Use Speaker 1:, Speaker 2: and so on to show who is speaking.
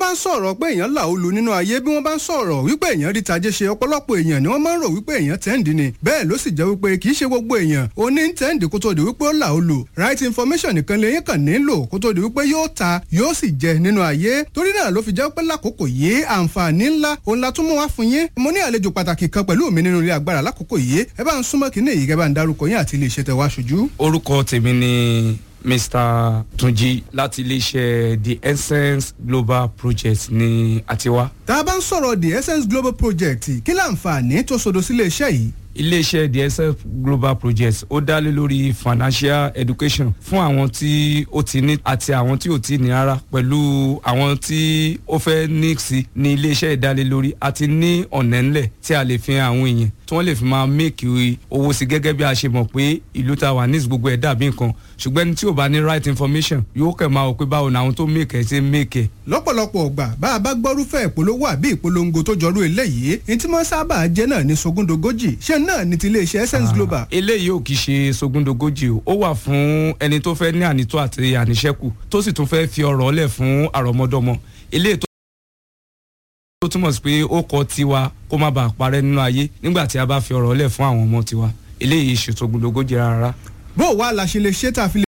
Speaker 1: Bá ń sọ̀rọ̀ pé èèyàn là ó lu nínú ayé, bí wọ́n bá ń sọ̀rọ̀ wípé èèyàn rí tajé ṣe, ọ̀pọ̀lọpọ̀ èèyàn ni wọ́n máa ń rò wípé èèyàn tẹ́ǹdì ni. Bẹ́ẹ̀ ló sì jẹ́ wípé kì í ṣe gbogbo èèyàn ó ní tẹ́ǹdì kó tó di wípé ó là ó lu. Right information nìkan lèyìn kàn nílò kó tó di wípé yóò ta, yóò sì jẹ nínú ayé. Torí náà ló fi jẹ́ pé lákòókò yìí, àǹfààní ńlá òun la tún mú wá fún yín. Mo ní àlejò pàtàkì kan pẹ̀lú mi nínú ilé agbára lákòókò yìí. Ẹ bá ń súnmọ́ kínní yìí, kẹ́ bá ń darúkọ yín àti ilé iṣẹ́ tẹ́ wá ṣojú.
Speaker 2: Orúkọ tèmi ni Mr Tunji láti iléeṣẹ́ The Essence Global Project ní àtiwá.
Speaker 1: Tá a bá ń sọ̀rọ̀ The Essence Global Project, kí láǹfààní tó sodo sílé iṣẹ́ yìí?
Speaker 2: Iléeṣẹ́ The Essence Global Project, ó dá lé lórí financial education fún àwọn tí ó ti ní àti àwọn tí ò tí ní rárá, pẹ̀lú àwọn tí ó fẹ́ ní sí ní iléeṣẹ́ ìdálélórí àti ní ọ̀nà ńlẹ̀ tí a lè fi hàn àwọn èèyàn tí wọ́n lè fi máa make owó sí. Gẹ́gẹ́ bí a ṣe mọ̀ pé ìlú ta wà ní gbogbo ẹ̀ dàbí nǹkan, ṣùgbọ́n ẹni tí ò bá ní right information yóò kẹ̀ máa wò pé báwo ni àwọn tó make ẹ̀ ṣe make ẹ̀.
Speaker 1: Lọ́pọ̀lọpọ̀ ọgbà, bá a bá gbọ́rúfẹ́ ìpolówó àbí ìpolongo tó jọrú eléyìí, ní tí wọ́n sábà jẹ́ náà ní sogúndogójì. Ṣé náà ní ti iléeṣẹ́ Essence Global?
Speaker 2: Eléyìí ò kì í ṣe sogúndogójì o. Ó wà fún ẹni tó fẹ́ ní ànító àti àníṣẹ́kù, tó sì tún fẹ́ fi ọrọ̀ lẹ̀ fún àrọ́mọdọ́mọ. Eléyìí tó túmọ̀ sí pé ó kọ tiwa kó má bàa parẹ́ nínú ayé nígbà tí a bá fi ọrọ̀ lẹ̀ fún àwọn ọmọ tiwa. Eléyìí ṣe sogúndogójì rárá.
Speaker 1: Bó o wá la ṣe lè ṣe tá a fi lè